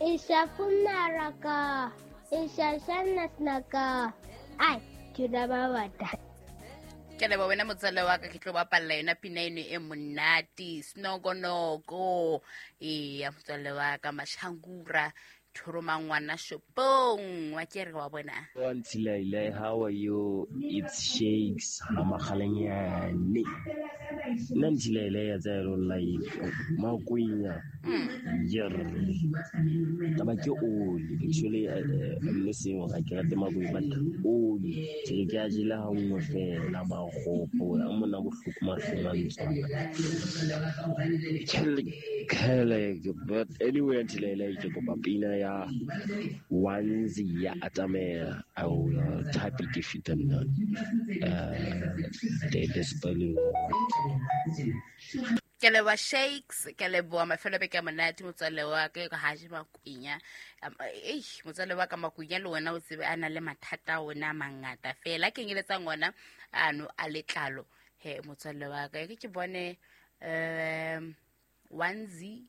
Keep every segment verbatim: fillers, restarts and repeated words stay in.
Ishafunaraka, Ishashanasnaka. Ai, Chudabawata. Ke leboha wena motswalle wa ka, ke tlo bapalla yona pina eno e monate, Snogonoko. Eya motswalle wa ka, Mashangura, Thoroma ngwana shopong, wa ke re wa bona. Ntilaile, how are you? It's Shakes Makgalanyane. Nna Ntilaile ya tsaya lo like Makwenya. Yer. Taba ke oli. Actually, I'm not saying ga ke rate makwenya, but oli. Ke re ke a jela ha nngwe fela magopo, a mona bohloko mahlong a ntswana. Kele, but anyway, Ntilaile ke kopa pina ya Wanzi ya Atamela. I will uh, type it if you don't know. Uh, the, the spelling. Ke leboha Shakes, ke leboha mafelo a beke a monate motswalle wa ka, ka ha je Makwenya. Eish, motswalle wa ka Makwenya le wena o tsebe a na le mathata a ona a mangata fela, a kenyeletsang ona ano a letlalo. He motswalle wa ka, ke ke bone um Wanzi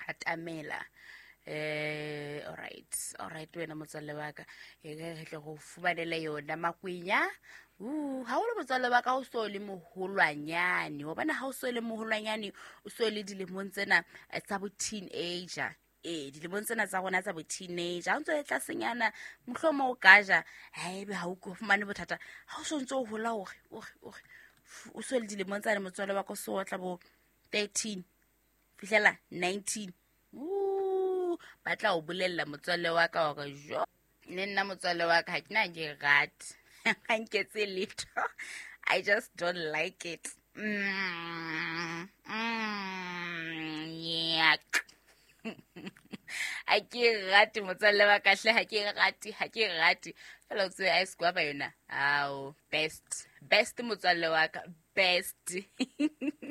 Atamela. Eh, all right, all right wena motswalle wa ka, e re tle go fumanele yona Makwenya. Uh, ha o le motswalle wa ka o so le moholwanyane, wa bona ha o so le moholwanyane, o so le dilemong tsena tsa bo teenager. Eh, dilemong tsena tsa rona tsa bo teenager, ha o ntso le tlasenyana, mohlomong o ka ja, haebe ha o fumane bothata, ha o so ntso o hola hore, hore, hore, o so le dilemong tsane motswalle wa ka o so otla bo thirteen, fihlela nineteen. Uh, ba tla o bolella motswalle wa ka hore jo, le nna motswalle wa ka ha ke na ke rate. Ha nketse letho. I just don't like it. Mm, mm, yuck. Ha ke rate motswalle wa ka hle, ha ke rate, ha ke rate. Fela o tsebe ice guava yona. Ao, best. Best motswalle wa ka, best.